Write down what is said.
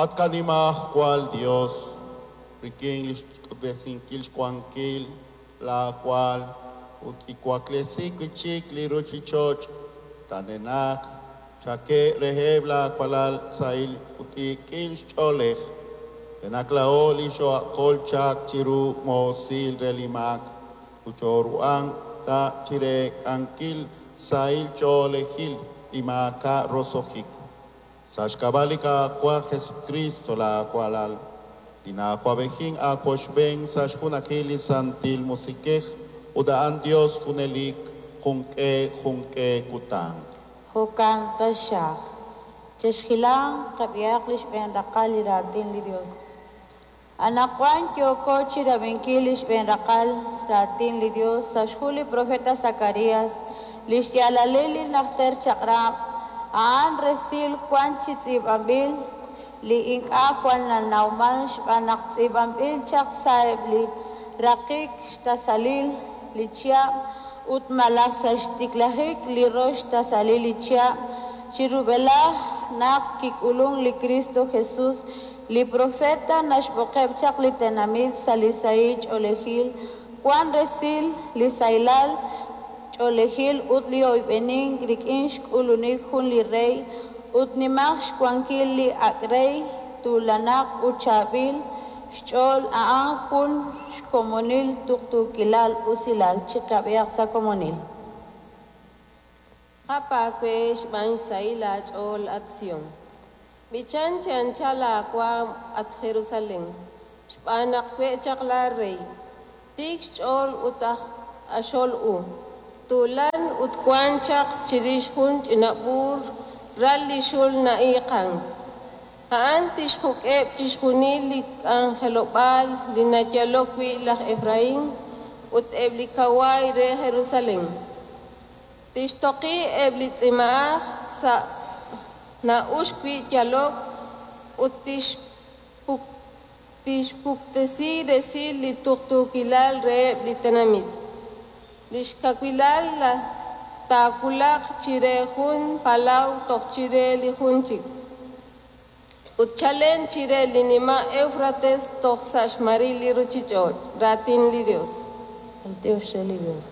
At qanimajwal Yos, rik'in li xk'utb'esinkil xwankil laawal ut kiwaklesi wi' chik li ruuchich'och' t'anenaq, chak'e reheb' laawalal sahil ut tiikil xch'oolej, re naq laa'o li xoo'akol chaq chiru moosil re li maak ut chooruhanq ta chireek'ankil sahil ch'oolejil li maak'a' roso'jik. Sa' xk'ab'a' li Qaawa' Jesucristo laawalal, li na'awab'ejink aawochb'een sa' xjunajil li Santil Musiq'ej ut a'an Dios junelik junq'e junq'e kutan. Jo'kan taxaq. Chexhilanq, qab'ihaq li xb'een raqal li raatin li Dios. Anaqwan yooko chirab'inkil li xb'een raqal raatin li Dios sa' xhu li profeta Zacarías, li xyaalalil li najter chaq'rab', a'an resil wan chi tz'iib'anb'il li ink'a' jwal nanawman xb'aan naq tz'iib'anb'il chaq sa'eb' li raqik xtasalil li chihab' ut malaj sa' xtiklajik li rox xtasalil li chihab' chi rub'elaj naq kik'ulun li Kristo Jesus. Li profeta naxb'oqeb' chaq li tenamit sa' li sahil ch'oolejil, wan resil li sahilal ch'oolejil ut li oyb'enink rik'in xk'ulunik jun li rey ut nimaq xwankil li ak' rey tuulanaq ut chaab'il xch'ool a'an jun xkomonil tuqtuukilal usilal. Chiqab'ihaq sa' komonil. Jap aawe xb'aan xsahil aach'ool, at Sión. B'ichan chi anchal aawaanm, at Jerusalén, xb'aan naq we' chaq laarey, tiik xch'ool ut aj q'axol u, tuulan ut wank chaq chirix jun ch'ina b'uur, ral li xul na'iiqank. A'an tixjuk'eb' chixjunil li k'anjelob'aal li nayalok wi' laj Efraín ut eb' li kawaay re Jerusalén. Tixtoqi eb' li tzimaj sa' na'uxk wi' yalok ut tixpuktesi resil li tuqtuukilal reheb' li tenamit. Li xkawilal taawulaq chire jun palaw toj chire li jun chik, ut chalen chire li nima' Éwfrates toj sa' xmaril li ruuchich'och'. Raatin li Yos. B'antiox re li Dios.